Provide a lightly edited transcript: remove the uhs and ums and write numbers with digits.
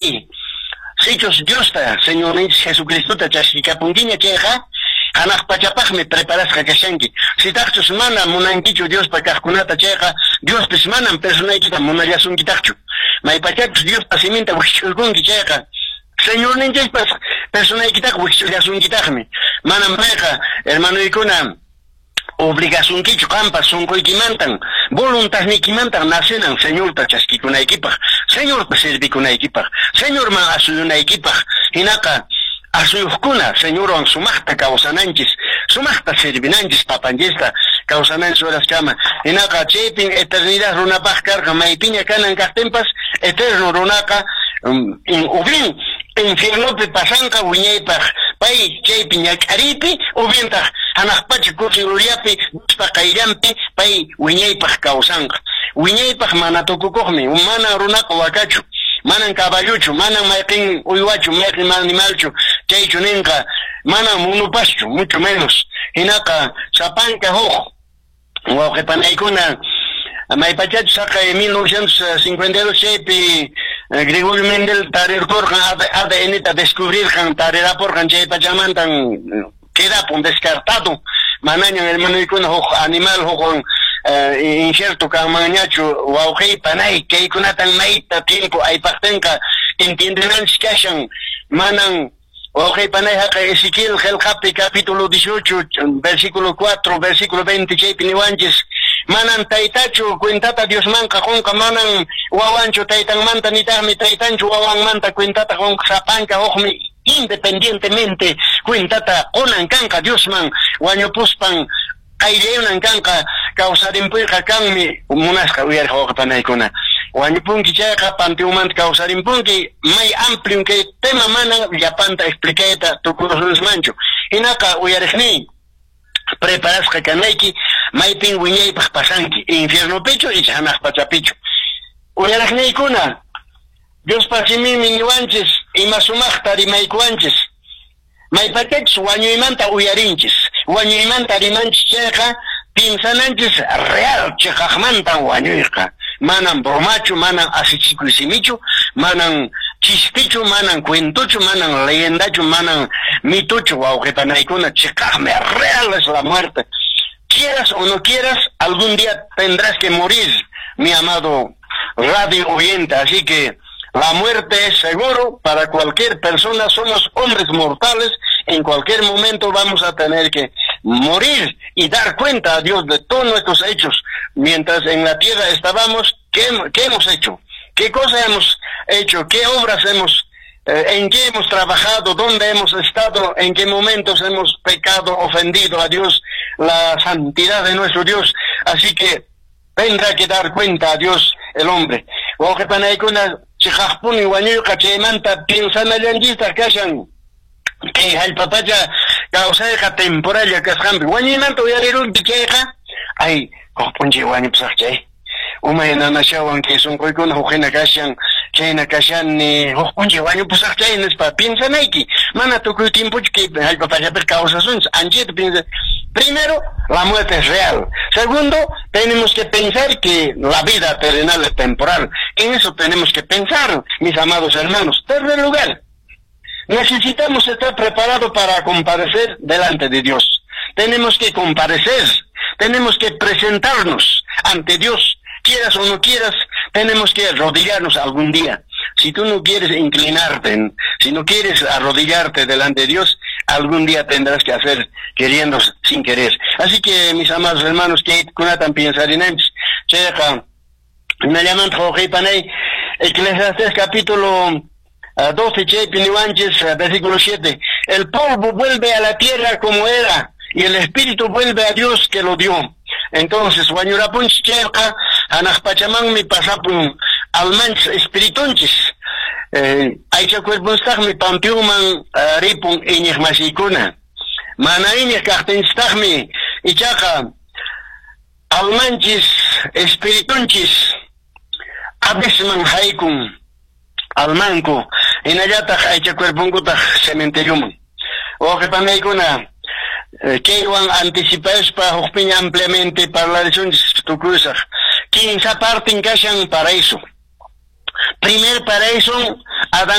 Sichus Diosta, Señorninchis Jesucristota chaskikapunkiña chayqa, hanaq pachapaqmi preparasqa kashanki. Sitaqchus mana munankichu Diospa kaqkunata chayqa, Diospis manan personaykita munallasunkitaqchu. Maypachachus Diospa siminta wikch'uykunki chayqa, Señorninchispas personaykitaqa wikch'ullasunkitaqmi. Manan payqa, hermanoykuna, obligasunkichu qanpas sonqoykimantan, voluntadniykimantan nacenan Señorta chaskikunaykipaq, Señorta servikunaykipaq, Señorman asuyunaykipaq. Hinaqa asuyuqkuna Señorwan sumaqta kawsananchis, sumaqta servinanchis papanchista kawsananchis horaskama. Hinaqa chaypin eternidad runapaq karqa, maypiña kanan kaqtinpas eterno runaqa o bien infiernopi pasanqa wiñaypaq pay chaypi ñak'ariypi, o bientaq hanaq pacha kusi gloriapi Diospa qayllanpi pay wiñaypaq kawsanqa. Wiñaypaq mana tukukuqmi, manan runaqa wakachu, manan caballochu, manan mayqin uywachu, mayqin animalchu, chaychu ninqa, manan munupaschu, mucho menos. Hinaqa sapanka huk wawqi panaykuna, maypachachus haqay 1952 chaypi Gregorio Mendel tarirkurqan ADN-ta descubrirqan, tarirapurqan, chay pachamantan quedapun descartado, manañan hermanoykuna huk animal hukwan injerto kanmanñachu. Wawqiy panay, kaykunatan mayta tiempo aypaqtinqa entiendenanchis kashan. Manan, wawqiy panay, haqay Ezequiel qelqapi capítulo 18, versículo 4, versículo 20 chaypi niwanchis, manan taytachu cuentata Diosmanqa qonqa, manan wawanchu taytanmanta, nitaqmi taytanchu wawanmanta cuentata qonqa, sapanka hukmi independientemente cuentata qonan kanqa Diosman wañupuspan qayllayunan kanqa. Kawsarimpuyqa kanmi, munasqa uyariq wawqi panaykuna. Wañupunki chayqa panteonmanta kawsarimpunki. May amplio kay tema, manan llapanta explicayta tukurusunmanchu. Hinaqa uyariqniy, preparasqa kanayki, maypin wiñaypaq pasanki, infiernopichu icha hanaq pachapichu. Uyariqniykuna, Diospa siminmi niwanchis, ima sumaqta rimaykuwanchis. Maypachachus wañuymanta uyarinchis, wañuymanta rimanchis chayqa, piensananchis real cheqaqmantan wañuyqa. Manan bromachu, manan asichikuy simichu, manan chistichu, manan cuentochu, manan leyendachu, manan mitochu, wawqi panaykuna, cheqaqmi, real es la muerte. Quieras o no quieras, algún día tendrás que morir, mi amado radio oyente, así que la muerte es seguro para cualquier persona, somos hombres mortales, en cualquier momento vamos a tener que morir y dar cuenta a Dios de todos nuestros hechos. Mientras en la tierra estábamos, ¿qué hemos hecho? ¿Qué cosa hemos hecho? ¿Qué obras hemos, en qué hemos trabajado? ¿Dónde hemos estado? ¿En qué momentos hemos pecado, ofendido a Dios, la santidad de nuestro Dios? Así que tendrá que dar cuenta a Dios el hombre. Wawqi panaykuna, chiqaqpuni wañuyqa, chaymanta piensanallanchistaq kashan. Kay hallp'a pacha kawsayqa temporalla kasqanpi. Wañuymanta uyarirunki chayqa, ay, huk p'unchay wañupusaq chay. Umay nanashawan kay sunquykuna huk hina kashan, chayna kashani, huk p'unchay wañupusaq chay nispa piensanayki. Mana tukuy tiempochu kay hallp'a pachapiqa kawsasunchis, anchayta piensa. Primero, la muerte es real. Segundo, tenemos que pensar que la vida terrenal es temporal. En eso tenemos que pensar, mis amados hermanos. Tercer lugar, necesitamos estar preparados para comparecer delante de Dios. Tenemos que comparecer, tenemos que presentarnos ante Dios. Quieras o no quieras, tenemos que arrodillarnos algún día. Si tú no quieres inclinarte, si no quieres arrodillarte delante de Dios, algún día tendrás que hacer queriendo sin querer. Así que, mis amados hermanos, kaykunatan piensarinanchis. Chayqa, hinallamanta wawqi panay, Eclesiastes capítulo 12 chaypi niwanchis, versículo 7: "El polvo vuelve a la tierra como era y el espíritu vuelve a Dios que lo dio". Entonces, wañurapunchis chayqa, hanaq pachamanmi pasapun almanchis, espiritunchis. Aycha cuerponstaqmi panteonman ripun iñiq masiykuna. Mana iñiq kaqtinchistaqmi ichaqa almanchis, espiritunchis Hadesman haykun almanku, hinallataq aycha cuerponkutaq cementerioman. Wawqi panaykuna, kaywan anticipaspa hukpiña ampliamente parlarisunchis tukusaq. Kinsa partin kashan paraíso. Primer paraíso Adán.